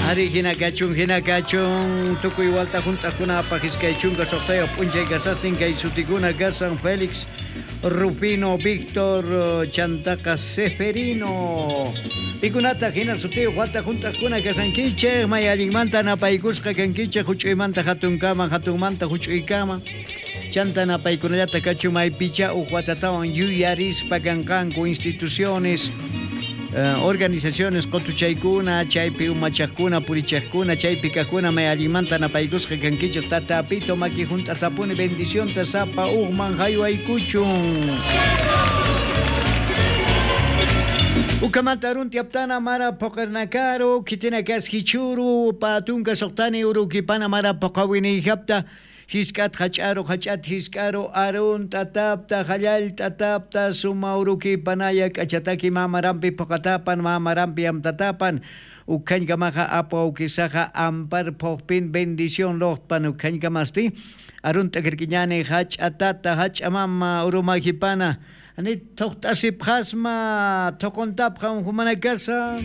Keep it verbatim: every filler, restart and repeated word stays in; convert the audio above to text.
Ari jina kachun jina kachun tukuy walta junt'aqkunapaq iskay chunka suqtayuq p'unchay kasaqtin kay sutikuna kasan Félix, Rufino, Víctor, chantaqa Seferino. Pikunataq jina sutiyuq walta junt'aqkuna kasankichik? May allinmanta napaykusqa kankichik juch'uymanta jatunkama, jatunmanta juch'uykama. Chanta napaykunallata kachun maypicha uj watatawan yuyarispa kanqanku instituciones, organizaciones qutuchaykuna, chaypi umachaqkuna, purichaqkuna, chaypi kaqkuna may allinmanta napaykusqa kankichik. Tatapito maki junt'atapuni bendicionta sapa ujman jaywaykuchun. Ukhamanta arunti aptana mara phuqirnakaru khitinakas jichhuru pä tunka suqtani urukipana mara phuqawiniyjapta. Jisk'at jach'aru jach'at jisk'aru arunt'atapta jallallt'atapta suma urukipanaya k'achataki mä marampi phuqatapan mä marampi amtatapan. Ukkhañkamaxa apwawkisaxa ampar phuqpin bendición luqtpan ukkhañkamasti. Arunt'akirkiñani jach'a tata jach'a mama urumajipana. Janit thuqt'asipxasma thuquntapxam jumanakasa.